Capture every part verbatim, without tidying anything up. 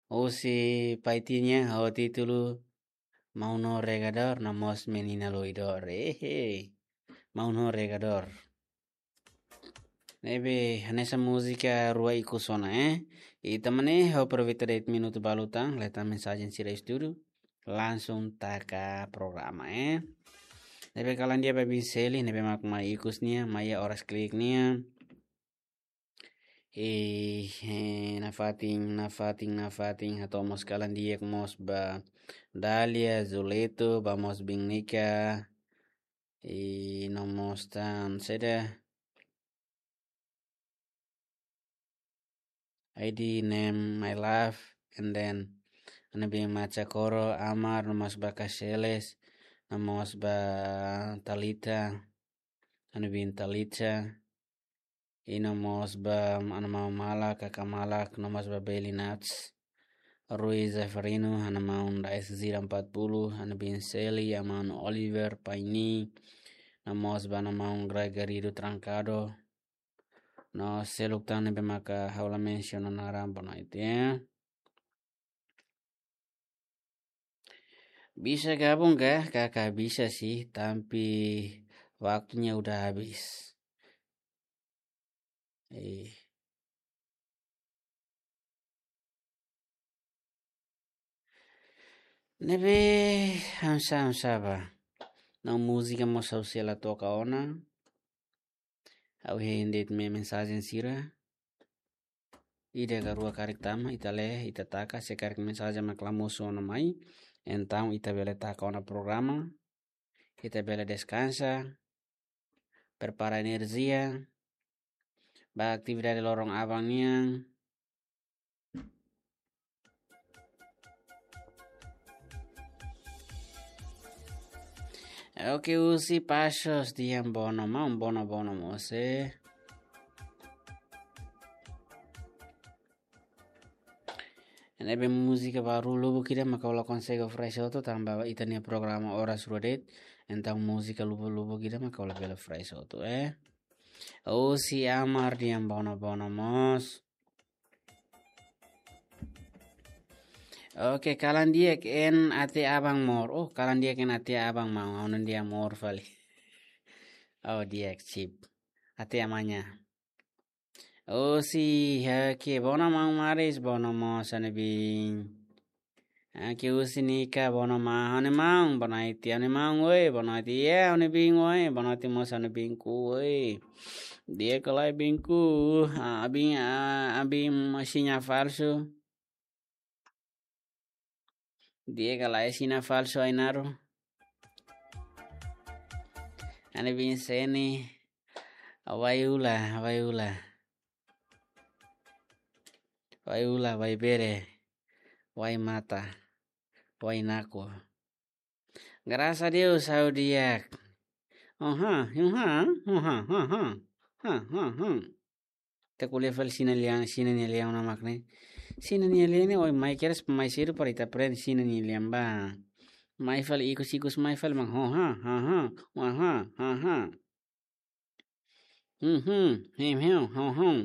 Husi Paitin nian ho títulu Maun Regador, no mós Menina Loidor. Ehe. Maun Regador. Ne'ebé, hanesan múzika rua ikus ona, eh. I tanba ne'e, ha'u aproveita de'it minutu balu tan, hetan mensajen sira estúdiu, langsung taka programa, eh. Ne'ebé kalan di'ak ba Bin Seli, ne'ebé mak mai ikus nia, mai iha oras klik nia. I, eh, nafatin, nafatin, nafatin, hato'o mós kalan di'ak mós ba Dalia, Zuleto, ba mós Bin Nika, i no mós tan saida, I D name my love, and then ha'u-nia bin Macha Koro, Amar, no mós ba Kaseles, no mós ba Talita, ha'u-nia bin Talita, i no mós ba ha'u-nia maun malak, kakan malak, no mós ba Beli Nats, Rui Zeferino, ha'u-nia maun Rais Zira empat puluh, ha'u-nia bin Seli, ha'u-nia maun Oliver, Paini, no mós ba ha'u-nia maun Gregorio Trancado. No seluk tan ne'ebé maka ha'u la mensiona naran, boa noite, ya. Bisa gabung kah? Kakak bisa sih, tapi waktunya udah habis. Eh. Ne'ebé, hamsa, hamsa ba. Ha'u-nia múzika mós ha'u sei la toka ona. Ha'u hein de'it mensajen sira. Ida ka rua karik tama, ita lee, ita taka, se karik mensajen mak la mosu ona mai. Entaun ita bele taka ona programa. Ita bele deskansa. Prepara enerjia. Ba atividade loron aban nian. Oke, husi Pasos, Dian Bono, maun Bono, Bono mós, eh. Ne'ebé múzika baru lubuk ida maka ha'u la konsege oferese hotu tanba ita-nia programa oras rua de'it. Entaun múzika lubuk-lubuk ida maka ha'u la bele oferese hotu, eh. Husi Amar, Dian Bono, Bono mós. Oke, kalan di'ak, en até aban mós. Oh, kalan di'ak, en até aban, maun. Ha'u-nia an di'ak mós fali. Oh, di'ak, sip. Até amanhã. Husi, oke, Bono maun Maris, Bono mós ha'u-nia bin. Oke, husi Nika, Bono maun, ha'u-nia maun, boa noite, ha'u-nia maun, oi, boa noite, ya, ha'u-nia bin, oi, boa noite mós ha'u-nia binku, oi. Di'ak ka lae binku, ah, bin, ah, bin, sinál falsu. Di'ak ka lae sinál falsu, Ainaro. Ha'u-nia bin Seni, Wai Ula, Wai Ula. Wai Ula, Wai Bere, Wai Mata, Wai Naku. Graças a Deus, ha'u di'ak. Oha, oha, oha, oha, oha, oha. Ita ko'alia fali Xina lian, Xina nia lian ona mak ne'e. Xina nia lian ne'e, oi, mai kedas, mai sedu para ita aprende Xina nia lian ba. Mai fali ikus-ikus, mai fali mak, oha, oha, oha, oha. Mhm, him, him, hum, hum.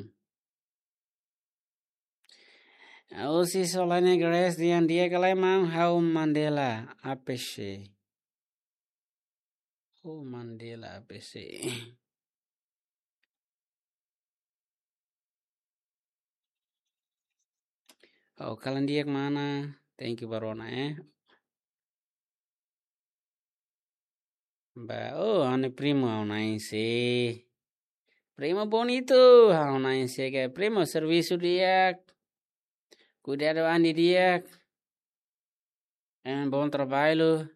Husi Solane Grace, Dian, di'ak ka lae maun, ha'u Mandela, A P C. Ha'u Mandela, A P C. Oh, kalan di'ak mana? Thank you ba rona, eh. Ba, oh, ha'u-nia primu, ha'u-nia na'in-se. Primo bonito, ha'u-nia na'in-se ka, primo servisu di'ak. Kuidadu an di'ak. Em, bom trabalho.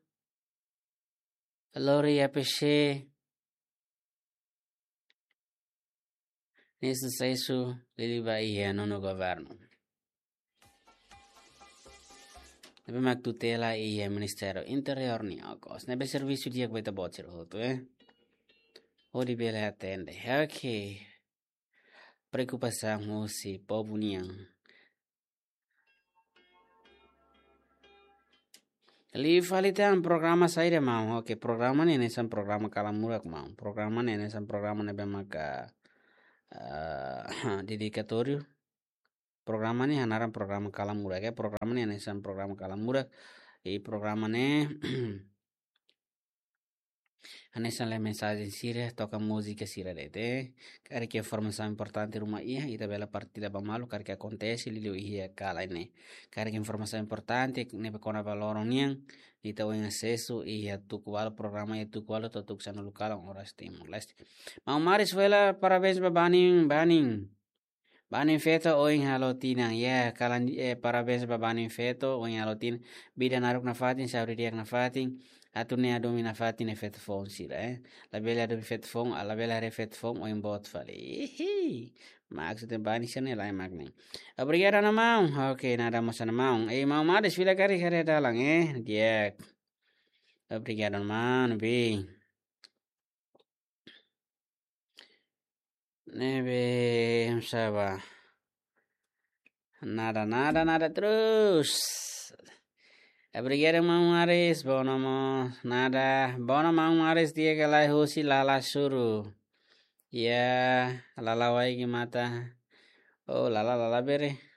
Lori A P C. Nia susesu liuliu ba iha nonu governu. Ne'ebé mak tutela iha Ministériu Interiór nian, okos. Ne'ebé servisu di'ak ba ita-boot sira hotu, eh. Hodi bele atende. Oke. Preokupasaun husi povu nian. Liu fali tan programa saida, maun? Oke, programa ne'e hanesan programa kalan murak, maun. Programa ne'e hanesan programa ne'ebé maka, eh, dedikatóriu. Programa ne'e hanaran programa Kalan Murak, eh, programa ne'e hanesan programa Kalan Murak. I programa ne'e hanesan lee mensajen sira, toka múzika sira de'it. Karik informasaun importante ruma iha, ita bele partilla ba malu, karik akontese liuliu iha kalan ne'e. Karik informasaun importante ne'ebé kona-ba loron nian, ita oin asesu iha tuku ualu, programa iha tuku ualu to'o tuku sanulu kalan oras Timor-Leste. Maun Maris, fó hela parabéns ba Banin, Banin. Banin feto oin halo tinan. Ya, kalan, eh, parabéns ba Banin feto oin halo tinan. Vida naruk nafatin, saúde di'ak nafatin. Atu ne'e hadomi nafatin ne'e feto foun sira, eh. Labele hadomi feto foun, ah, labele haree feto foun oin boot fali. Ihi. Maksud Banin sira ne'e lae mak ne'e. Obrigadu, maun. Oke, nada mós, maun. Eh, maun Maris, fila karik haree dalan, eh. Di'ak. Obrigadu, maun, bi. Ne'ebé, saba. Nada, nada, nada terus. Obrigadu, maun Maris. Bono mo, nada. Bono, maun Maris, di'ak ka lae, husi Lala Suru. Ya, Lala Wai Gimata. Oh, Lala, Lala Bere.